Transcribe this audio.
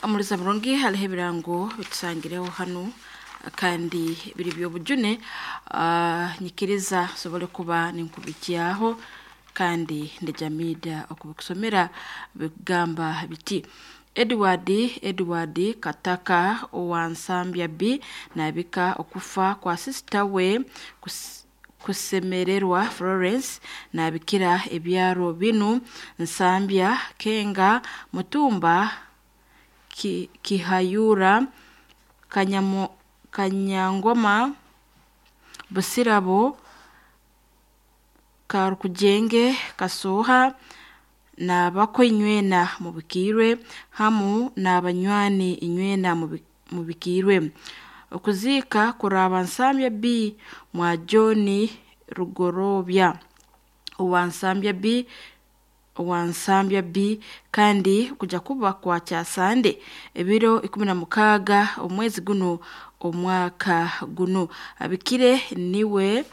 Omuliza murungi, haliho ebirango bitusangireho hanu kandi biri by'obujune. Nyikiriza nsobole kuba ninkubikyaho kandi ndejamiida okubikusomera. Bikugamba biti: Edward Edward Kataka owa Nsambya B nabika okufa kwa sisita we Kusemererwa Florence. Nabikira ebyaro binu: Nsambya, Kenga, Mutumba, Kihayura, Kanyangoma, Busirabo, Karukujenge, Kasooha n'abako inywena mubikiirwe, hamu n'abanywani inywena mubikiirwe. Okuziika kuraaba Nsambya B mwa John Rugorobya owa Nsambya B, owa Nsambya B, kandi kuja kuba kwa Kyasande ebiro 16 omwezi gunu omwaka gunu. Abikire niwe.